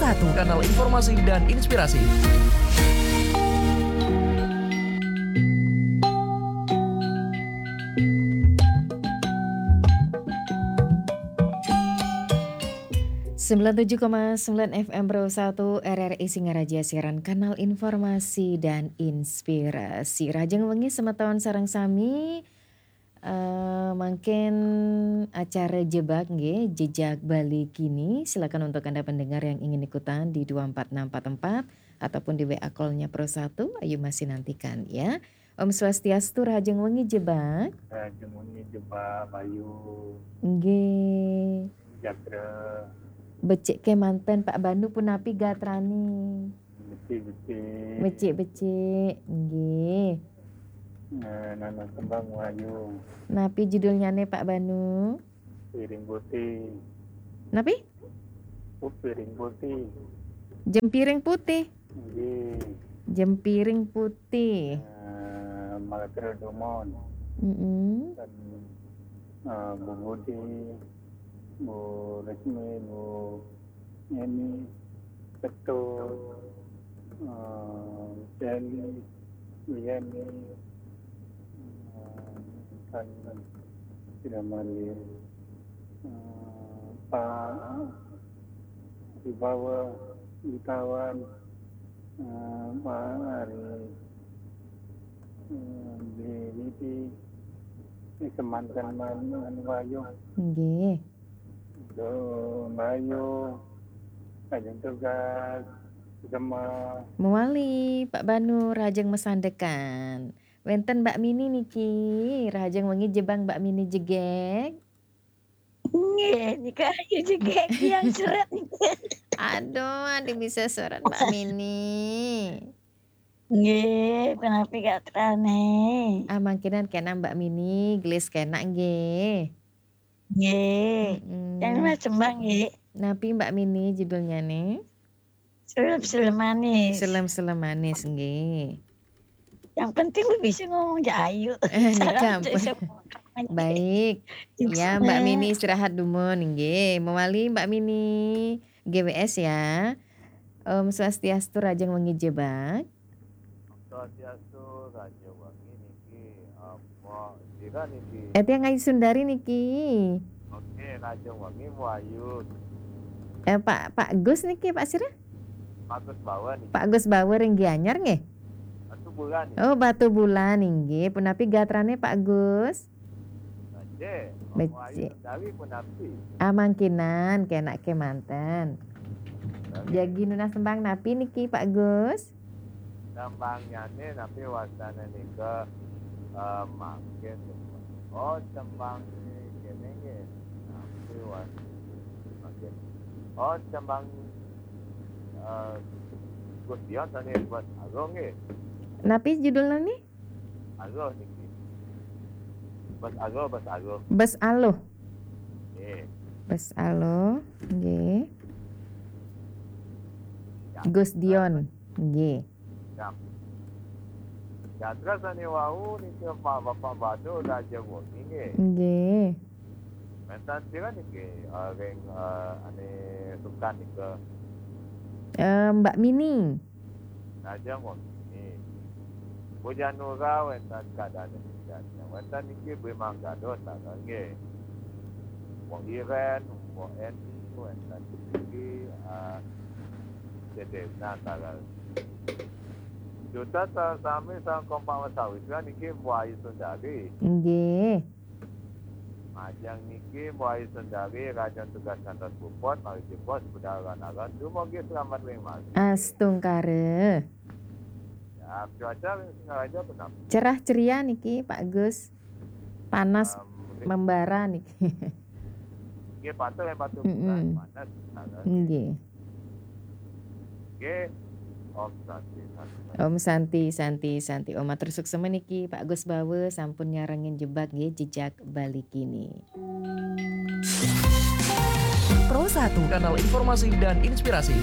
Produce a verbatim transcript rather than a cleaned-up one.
Satu, kanal informasi dan inspirasi. Sembilan tujuh koma sembilan F M Pro satu R R I Singaraja, siaran kanal informasi dan inspirasi. Rahajeng wengi semeton sareng sami. Eh, mangkin acara Jebak nggih, Jejak Bali Kini. Silakan untuk Anda pendengar yang ingin ikutan di dua empat enam empat empat ataupun di W A call-nya Pro satu, Ayu masih nantikan ya. Om Swastiastu, rahajeng wengi Jebak. Rahajeng wengi Jebak, Bayu. Nggih. Jatra. Becik kemanten Pak Banu, punapi gatrane? Becik-becik. Becik-becik, nggih. Eh, nana tembang Wahyu. Napi judulnyane Pak Banu? Piring putih. Napi? Oh, piring putih. Jempiring putih. Nggih. Jempiring putih. Eh, Malakira Dumon. Mm-mm. Dan, eh, Bu Budi, Bu Resmi, Bu Eni, Ketut, eh, Sally, Bu Yeni, eh, dan tidak hadir, eh, Pak Wibawa, Wibawan, eh, Pak Ari, eh, di, di, di, di semanten man, Wahyu. Nggih. Duh, Bayu, ajeng tugas, Gema. Mewali, Pak Banu, rahajeng masandekan. Wenten Mbak Mini niki, rahajeng wengi Jebak Mbak Mini jegeg. Nggih, nika Ayu jegeg yang seret niki. Aduh, aduh bisa seret Mbak Mini. Nggih, punapi gatrane? Ah, mangkinan kena Mbak Mini, gelis kena nggih. Nggih. Mm-mm. Yang mas tembang nggih. Napi Mbak Mini judulnyane? Selem-selem manis. Selem-selem manis nggih. Yang penting lu bisa ngomong ja Ayu. Eh, salam nika ampun. Baik. Ya, Mbak Mini istirahat dumun nggih. Mewali Mbak Mini G W S ya. Om Swastiastu, rahajeng wengi Jebak. Swastiastu, rahajeng wengi niki, apa sira niki? Eh, tiang Ayu Sundari niki. Oke, rahajeng wengi Bu Ayu. Eh, Pak, Pak Gus niki, Pak sira? Pak Gus Bauer niki. Pak Gus Bauer ring Gianyar nggih? Batubulan niki. Oh, Batubulan nggih. Punapi gatrane Pak Gus? Becik. Becik. Ayu Sundari punapi? Ah, mangkinan, kena kemanten. Jagi nunas tembang napi niki, Pak Gus? Tembangnyane napi wastane nika, eh, mangkin. Oh, tembang kene nggih. Napi was-, mangkin. Oh, tembang, eh, Gus Dion sane buat Agung nggih. Napi judulnya nih? Aluh niki. Bas Aluh, Bas Aluh. Bas Aluh. Nggih. Bas Aluh, nggih. Ya. Gus Dion, nggih. Ya. Ya, terus ane wau niki Pak Bapak Badu raja wengi nggih. Nggih. Wenten sira niki, eh, ring, eh, ane sukan nika? Eh, Mbak Mini. Raja wengi. Bu Janura wenten kadane misalnya. Wenten niki Bu Manggado tanggal nggih. Wong Iren, Wong Eni, wenten niki, eh, Cedena tanggal. Juta sa-, sami sang kompak sawitra niki Bu Ayu Sundari. Nggih. Majeng niki, Mbok Ayu Sundari, rajan tugas ngantos puput, mari jebos, budal lan aran, dumugi selamat ring margi. Astungkara. Ya, cuaca ring Singaraja punapi? Cerah ceria niki, Pak Gus. Panas membara niki. Nggih, patut ring Batubulan, mm-mm, panas, nah, nggih. Nggih. Om Santi, Santi, Santi. Om Santi, Santi. Om matur suksma niki Pak Gus Bawa sampun nyarengin Jebak nggih, Jejak Bali Kini. Pro satu, kanal informasi dan inspirasi.